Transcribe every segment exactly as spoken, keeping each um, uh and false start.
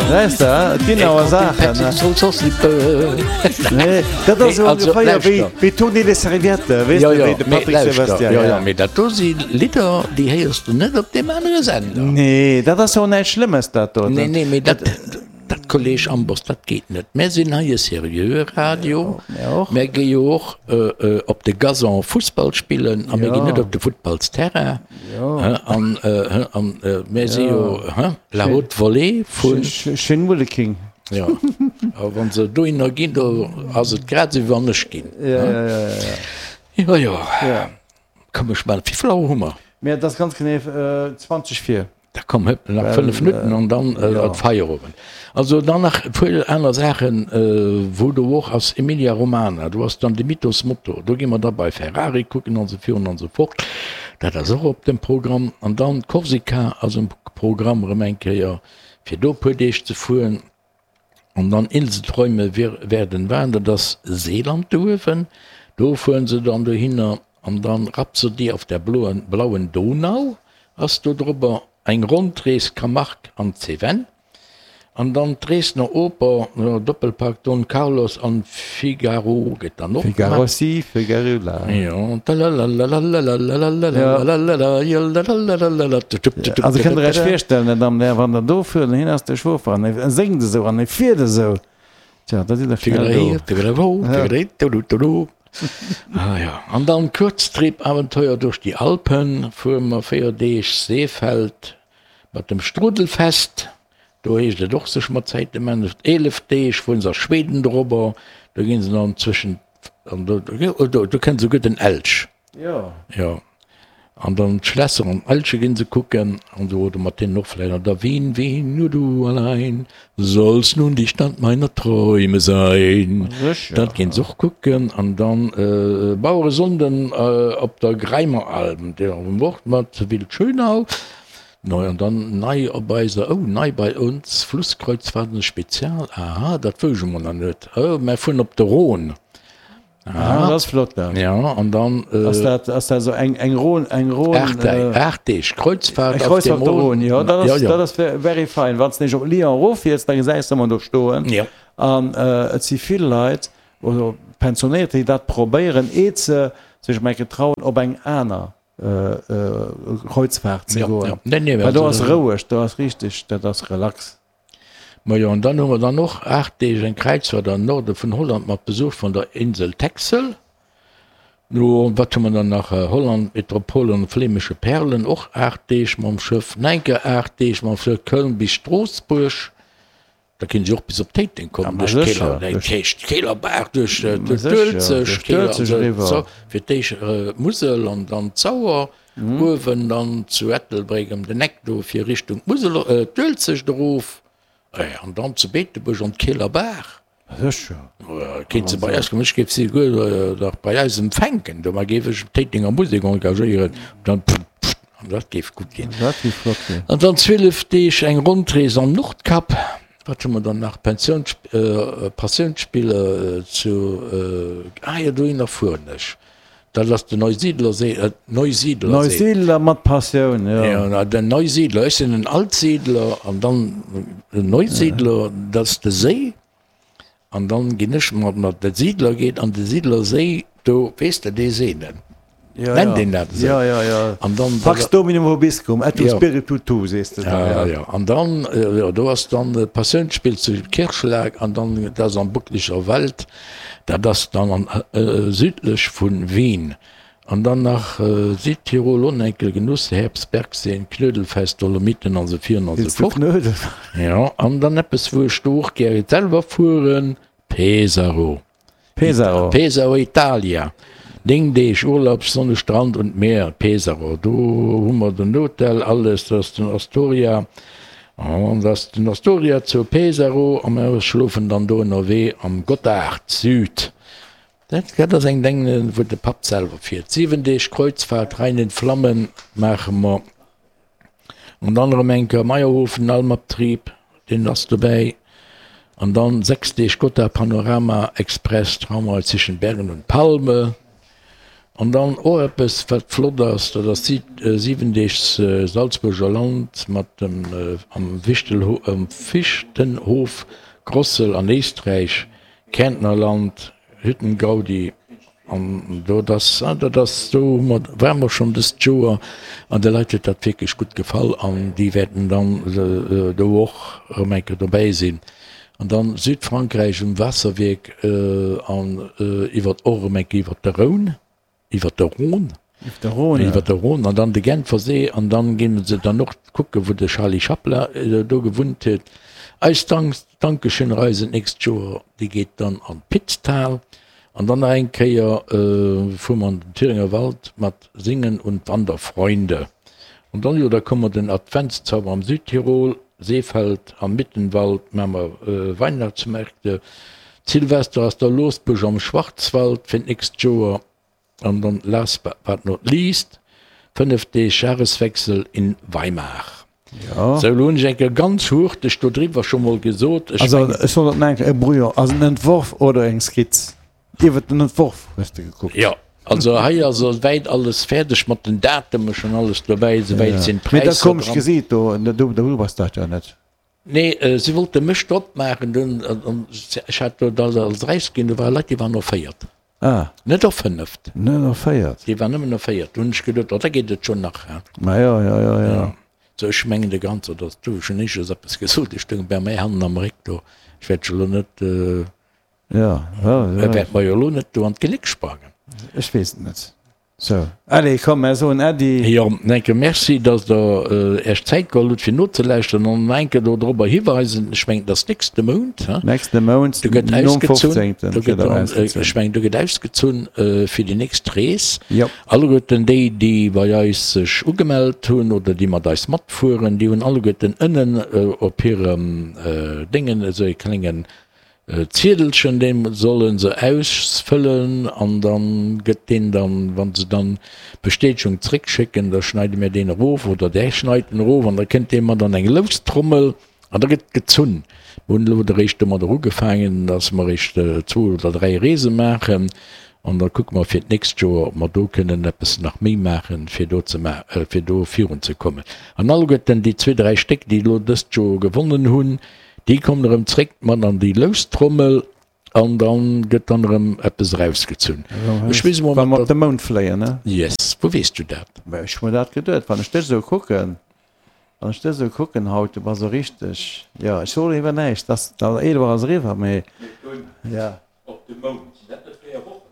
Weess de, et ginn awer Saachen, ne? Nee, dat ass esou ongeféier wéi, wéi Tourner les serviettes, weess de, wéi de Patrick Sebastian. Jo, jo, mee dat do si Lidder, déi héiers de net op deem anere Sender. Nee, dat ass jo och näischt Schlëmmes, dat do. Nee, nee, mee dat. Dat, Kolleg Amboss, dat geet net. Mär sinn hei e seriöe Radio. Mär gi jo och op de Gazon Fussball spillen a mir ginn net op de Futtballsterrain. An mär si jo la haute volée vun. Schéin Wulleking. Jo, a wa se dohinner ginn, do ass et grad esou, wéi wann ech ginn. Jo, jo. Komm, ech maachen. Wéi vill Auer hu mer? Mir, et ass ganz genee zwanzeg vir. Da komm, hëpp, nach fënnef Minutten an dann ass Feierowend. Also dann nach e puer aner Saachen, wou do och ass, Emilia Romana, do ass dann de Mythos Motor, do gi mer da bei Ferrari kucken an esou virun an esou fort. Dat ass och op dem Programm. An dann Korsika ass um Programm erëm eng Kéier, fir do e puer Deeg ze fueren. An dann Inselträume werden wahr, dat ass Seeland do uewen, do fueren se dann dohinner. An dann Rhapsodie auf der blauen Donau ass do drobber, eng Rondrees Camargue an d'Cévennes. An dann d'Dresdner Oper, Doppelpack Don Carlos an Figaro gëtt dann och gemaach. Figaro si, Figaro la. Jo. Also kënnt der Iech virstellen, Här Damen an Hären, wann der do fuert an hien ass de Chauffer an e séngt esou an e fiert esou, tja, da sidd der schnell do. Ah jo, an dann Kuerztrip-Abenteuer durch die Alpen, fuere mer véier Deeg Seefeld mat dem Strudelfest. Do heescht et och sech mat Zäite man. Eelef Deeg fueren se a Schweden dorobber, do ginn se dann zwëschen, an do, do, do kënnt esouguer den Elch. Jo. Jo. An dann d'Schlässer an Elche ginn se kucken an esou, oder mat deenen och vläicht an der Wien, Wien, nur du allein sollst nun die Stadt meiner Träume sein. Sécher. Dat ginn se och kucken. An dann Baueresonnden op der Greimeralm, déi och mat Wildschönau. Neu an dann nei op eiser, oh, nei bei uns, Flusskreuzfahrten Spezial, aha, dat wousch ech emol nach net. Oh, mär fueren op de Rhône. Aha, dat ass flott dat. Ja, an dann. Ass dat, ass dat esou eng, eng Rhône, eng Rhône. Aacht Deeg, aacht Deeg Kreuzfahrt auf dem Rhône. Jo, dat ass, dat ass very fine. Wann s de nämlech op Lyon eroffiers, da gesäis de ëmmer do stoen. Jo. An et si vill Leit, also Pensionéiert, déi dat probéieren, eet se sech emol eng Kéier trauen, op eng aner Kreuzfahrt ze goen. Well do ass roueg, do ass richteg, dat ass relax. Majo, an dann hu mer dann och aacht Deeg eng Kräizfahrt an den Norde vun Holland mat Besuch vun der Insel Texel. No, wat hu mer dann nach? Holland, Metropole an flämesche Perlen, och aacht Deeg mam Schëff. Nach eng Kéier aacht Deeg mam Schëff, Köln bis Stroossbuerg. Da kéint ech och bis op Téiteng kommen, duerch d'Keeler, duerch d'Keelerbaach, duerch d'Uelzecht, Keeler, fir d'éischt d'Musel an dann d'Sauer, uewen dann zu Ettelbréck ëm den Eck do fir Richtung d'Musel, d'Uelzecht erof, an dann zu Beetebuerg an d'Keelerbaach. Kéint se bei eis kommen, ech géif si souguer nach bei eis empfänken, do géif ech d'Téitenger Musek engagéieren, dann an dat géif gutt ginn. Dat géif flott ginn. An dann zwielef Deeg eng Rondrees am Nordkap. Wat hu mer dann nach? Pensiouns, Passiounsspiller zu, ah jo, dohinner fueren ech. Dat ass den Neusiedlersee, Neusiedlersee. Neusiedler mat Passioun, jo. Jo, den Neusiedler, ech sinn en Altsiedler an dann den Neusiedler, dat ass de Séi. An dann ginn ech mat mat de Siidler geet an de Siidlerséi, do, weess de, dee Seenen, Ja, nennt ja. een dat esou? Ja, ja, ja. An dann, Pax Dominum vobiscum et Ja. spiritu tuo, sees de da, Ja, ja. ja. An dann, jo, do ass dann d'Passiounsspill zu Kirchschlag an dann, dat ass am Buckliger Wald, dat ass dann an, südlech vu Wien. An dann nach Südtirol, Onenkel, Genuss, Herbst, Bergseen, Knödelfest, Dolomiten an esou virun an esou fort. Jo, an dann eppes wou ech do och gär selwer fueren, Pesaro. Pesaro. Pesaro, Italia. Néng Deeg Urlaub, Sonne, Strand und Meer, Pesaro. Do hu mer den Hotel, alles, dat ass den Astoria. An dat ass den Astoria zu Pesaro a mer schlofen dann do ënnerwee am Gotthard Süd. Dat ass eng Deng, wou de Papp selwer fiert. Siwen Deeg Kreuzfahrt, Rhein in Flammen maache mer. An dann erëm eng Kéier Mayrhofen, Almabtrieb, deen ass dobäi. An dann sechs Deeg Gotthard Panorama Express, Tramway zwischen Bergen und Palme. An dann och eppes, wat flott ass, dat ass siwen Deeg Salzburger Land mat dem am Fichtenhof Grossel an Éisträich, Kärntnerland, Hüttengaudi. An do, dat dat ass, do hu mer, ware mer schonn dëst Joer an de Leit huet dat wierklech gutt gefall an déi wäerten dann do och erëm eng Kéier dobäi sinn. An dann Südfrankräich um Waasserwierk an iwwer och erëm eng Kéier iwwer de Rhône, iwwer de Rhône, iwwer de Rhône an dann de Genfersee an dann ginn se dann och kucke wou de Charlie Chaplin do gewunnt huet. Eis Dankeschön-Reise d'nächst Joer, déi geet dann an d'Pitztal. An dann nach eng Kéier fuere mer an den Thüringer Wald mat Singen und Wanderfreunde. An dann, jo, da komme mer den Adventszauber am Südtirol, Seefeld am Mittenwald maache mer Weihnachtsmärkte, Silvester ass da Losbusch am Schwarzwald fir d'nächst Joer. An dann last but not least, fënnef Deeg Jahreswechsel in Weimar. Jo. Sou, elo hunn ech eng Kéier ganz hurteg do driwwer scho mol gesot. Ech Also, mengen. ech soll dat nach eng Kéier, e Brouillon ass en Entworf oder eng Skizz? Iwwert den Entworf hues de gekuckt. Jo, also hei ass esouwäit alles fäerdeg mat den Datumen, schonn alles dobäi, esouwäit Ja. sinn Mee dat d'Präisser komesch dran. Gesiit do, do, do bass dat jo net. Nee, si wollte mech drop maachen, dunn, an ech hat do dat alles erausginn, do ware Leit, déi waren erféiert. Ah. Net erfënneft. Net erféiert. Déi waren nëmmen erféiert. Do hunn ech geduet, oh, da geet et schonn nach, hein. Ma jo, jo, jo, jo. Sou, ech mengen de Ganzer, datt du, ech hunn éischters eppes gesot, ech stoung bei mär hannen am Réck do, ech wäert elo net, Jo, jo, jo. wäert mer jo elo net do an d'Geléck sprangen. Ech weess et net. Sou, allez, komm, mär soen Äddi. Jo, enke Merci, dass Der Äech Zäit geholl hutt, fir nozelauschteren an nach enke do dorobber hiweisen. Ech mengen, et ass nächste Mount, he? Nächste Mount, Do gëtt nom ausgezunn, fofzéngten do gëtt gëtt, erausgezunn. ech mengen, do gëtt ausgezunn fir déi nächst Rees. Jo. Alleguerten déi, déi bei eis sech ugemellt hunn oder déi mat eis matfueren, déi hunn alleguerten ënnen op hirem Déngen esou e klengen Ziedelchen, dee solle se ausfëllen an da gëtt deen dann, wa se dann d'Bestätegung zréckschécken, da schneide mir deen erof oder där schneit en erof an da kënnt dee mat an eng Loustrommel an da gëtt gezunn. Mir hunn elo eréischt domadder ugefaangen, dass mer eréischt zwou oder dräi Reese maachen an da kucke mer fir d'nächst Joer, ob mer do kënnen eppes nach méi maachen, fir do ze fir do virunzekommen. An alleguerten déi zwee, dräi Stéck, déi elo dëst Joer gewonnen hunn, Déi kommen erëm zréck mat an déi Loustrommel an dann gëtt dann erëm eppes erausgezunn. Ech weess emol Wa mer mat op de Mound fléien, ne? Yes, wou weess du dat? Mä ech hu mer dat geduet, wann ech dech esou kucken, wann ech dech esou kucken haut, du bass esou richteg, jo, ech soen iwwer näischt, dass dat eelef Auer ass eriwwer, mee jo. Op de Mound, sinn dat net véier Wochen?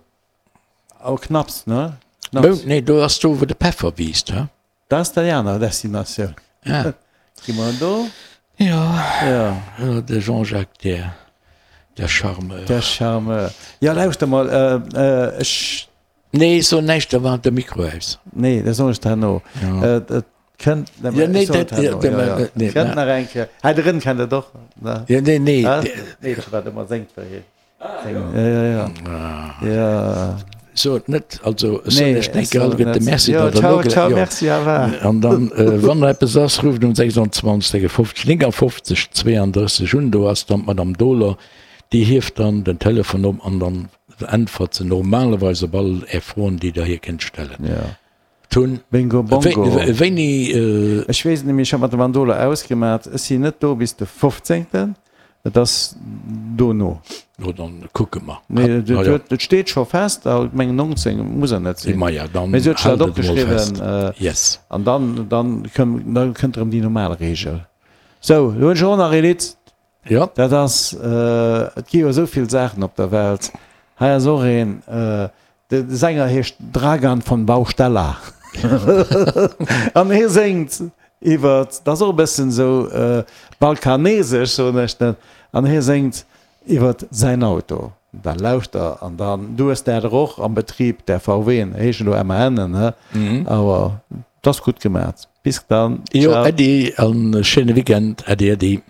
Oh, knapps, ne? Knapps. Mound, nee, do ass do wou de Peffer wiisst, he? Dat ass déi aner Destinatioun. Ah. Gi mer do? Jo. Ja. De Jean-Jacques, der, der Charmeur. Der Charmeur. Ja, lauschter mol, ech. Nee, so näischt, da war de Mikro aus. Nee, dat soen ech der herno. Ja. Et kënnt, Ja, nee, dat, ja, ja, nee, kënnt nach eng Kéier. Hei drënn kennt et och, ne? Ja, nee, nee. Meedche, wat ëmmer séngt, wéi hie. Ja, ja, ja. Ja. So et net, also ech soen Nee, iech ech enke soen et alleguerte net. Merci, Jo, datt der ciao, nogela-, ciao, jo. merci, au revoir. An dann, wann nach eppes ass, rufft um sechsundzwanzeg sechsundfünfzeg neunundfünfzig zweiunddrësseg un, do ass dann d'Madame Dohler, déi hieft dann den Telefon op an dann äntwert se normalerweis op all Är Froen, déi Der hir kënnt stellen. Ja. Tun. Bingo Bongo. Wéini? Ech weess et net méi, ech hat mat der Mandola ausgemat, ech sinn net do bis de fofzéngten, et ass dono. No dann kucke mer. Nee, et steet scho fest, a mengen nonzéng muss er net sinn. Maja, dann Mee si huet sech dat haalt et emol fest. opgeschriwwen. Yes. An dann, dann kënn, da kënnt erëm déi normal Reegel. Sou, elo hunn ech och nach ee Lidd. Jo. Dat ass, et gi jo esou vill Saachen op der Welt. Hei ass och een, De Sänger heescht Dragan von Baustella an hie séngt iwwer, dat ass och e bëssen esou balkanesesch, soen ech net, an hie séngt iwwer säin Auto. Da lauschter an dann, du hues där der och am Betrib, där VWen, heeschen elo MANen, he, awer 't ass gutt gemat. Bis dann, Jo, ciao. Äddi an e schéine Weekend. Äddi, äddi.